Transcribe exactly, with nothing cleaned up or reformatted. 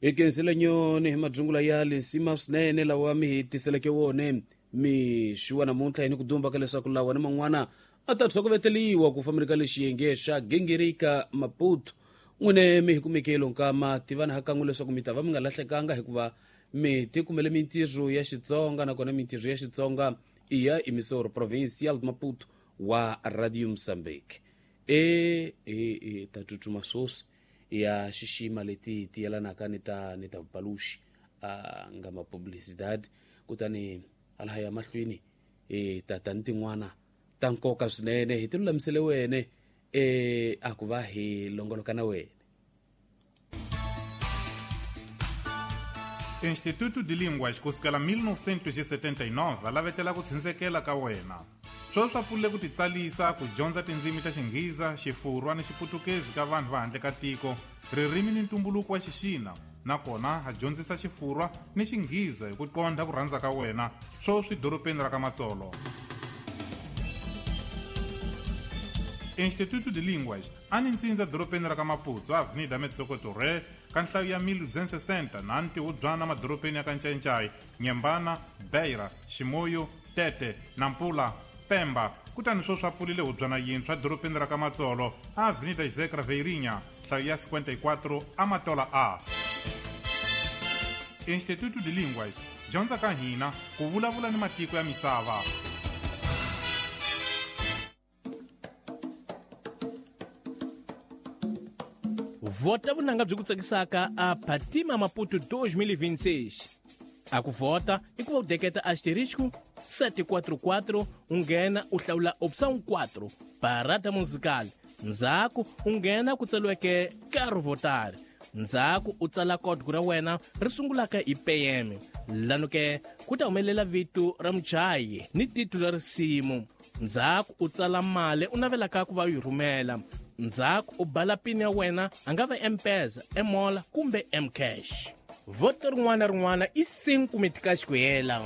Hi khensile nyoni hi madzungula ya lisima swinene lawa mi hi tiseleke wone mixo wa namuntlha hi ni ku dumba ka leswaku lawa ni man'wana a ta tshokoveteliwa ku fambeni ka lexiyenge xa Gingirika Maputo. N'wine mi hi kumeke lonkama tivana hakan'we leswaku mi ta va mi nga lahlekanga hikuva mi tikumele mintirho ya Xitsonga, nakona mintirho ya Xitsonga i ya Emissora Provincial de Maputo wa Radio Mozambique. E e e ta tsutsuma swoswi ya xixima leti ti yelanaka ni ta ni ta vupaluxi a nga ma publicidade, kutani hala ya mahlweni e tata ni tin'wana ta nkoka swinene hi ti lulamisele wene e a ku va hi longoloka na wena. Instituto de Línguas kusukela mil novecentos e setenta e nove a lavetela ku tshunxekela ka wena. Sweswi swa pfulile ku titsalisa ku dyondza tindzimi ta Xinghiza, Xifurwa ni Xiputukezi ka vanhu va handle ka tiko, ririmi ni ntumbuluko wa Xixina, nakona ha dyondzisa Xifurwa ni Xinghiza hi ku qondha ku rhandza ka wena, sweswi dorobeni ra ka Matsolo. Instituto de Línguas a ni ntsindza dorobeni ra ka Maputo, Avenida Metsoko Torre, ka nhlayo ya mil duzentos e sessenta na ntihubyana madorobeni ya ka Ncayincai, Nyembana, Beira, Ximoyo, Tete, Nampula, Pemba. Kutani sweswi swa pfulile hubyana yintshwa dorobeni ra ka Matsolo, Avenida José Craveirinha, nhlayo ya cinquenta e quatro, Amatola A. Instituto de Línguas, dyondza ka hina ku vulavula ni matiko ya misava. Vota vunanga byi ku tsakisaka a Fatima Maputo dois mil e vinte e seis. A ku vota i ku va u deketa asterisco sete quatro quatro, u nghena u hlawula opção quatro, parada musical. Ndzhaku u nghena ku tsariweke Quero votar. Ndzhaku u tsala código ra wena ri sungulaka hi P M. Lano ke ku ta humelela vito ra muchayi ni titulu ra risimu. Ndzhaku u tsala mali u navelaka ku va u yi rhumela. Ndzhaku u bala pin ya wena, a nga va M-Pesa, M-Mola kumbe M-Cash. Voto rin'wana na rin'wana i cinco meticais ku hela.